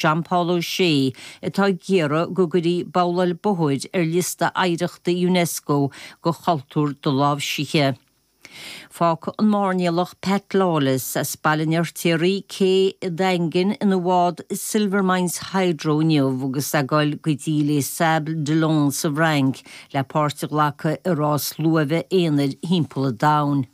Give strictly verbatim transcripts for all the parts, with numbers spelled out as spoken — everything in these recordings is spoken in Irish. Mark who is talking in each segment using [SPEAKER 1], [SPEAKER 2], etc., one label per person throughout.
[SPEAKER 1] John Paul O'Shea atá ag iarraidh go gcuirfí babhláil bóthair ar liosta oidhreachta UNESCO de chultúr doláimhsithe. Fágfaidh an mairnéalach Pat Lawless as Baile an Fheirtéaraigh cé an Daingin ina bhád Silvermines Hydro inniu agus é ag dul go dtí Les Sables d'Olonne sa bhFrainc le páirt a ghlacadh i rás luaimhe aonair thimpeall an domhain.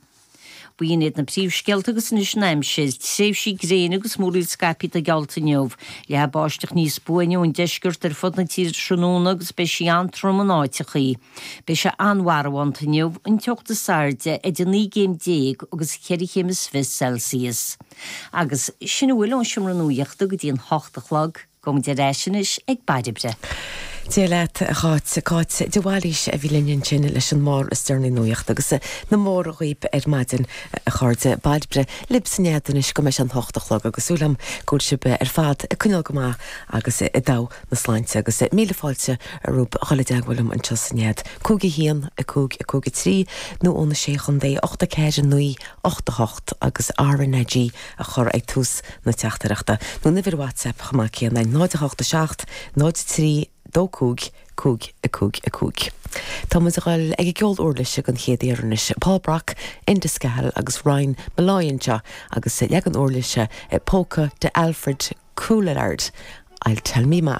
[SPEAKER 1] B'in iad na príomhscéalta agus anois an aimsir, tréimhsí gréine agus múraíl scaipthe atá geallta inniu. Leathfaidh báisteach níos buaine ón deisceart ar fud na tíre tráthnóna agus beidh sí an-trom in áiteachaí. Beidh sé an-mharbhánta inniu, an teocht is airde idir naoi gcéim déag agus ceithre chéim is fiche Celsius. Agus sin a bhfuil ón seomra nuachta go dtí an hocht a chlog, gabhaimid ar ais anois ag Bairbre.
[SPEAKER 2] Dia leat a Cháit Cáit de Bhailís a bhí linn ansin leis an mór is deireanaí nuachta agus na mór dhaoibh ar maidin a chairde Bairbre libh san nead anois go mbeidh an hocht a chlog agus súil agam go bhfuil sibh ar fad ag coinneáil go maith agus i dtogha na sláinte agus míle fáilte romhaibh a dhul i dteagmháil liom anseo sa nead. Cúig a haon a cúig a cúig a trí nó ó na sé chontae ocht a ceathair naoi ocht a hocht agus RnaG a chur ag tús na teachtaireachta. Nó uimhir WhatsApp chomh maith céanna náid a hocht a seacht náid trí dó cúig cúig a cúig a cúig. Tá muid ag dul ag an gceol uirlise den chéad uair anois Paul Brock, Enda Scahill agus Ryan Molloy anseo agus leagan uirlise póca de Alfred Couillard. I'll tell me ma.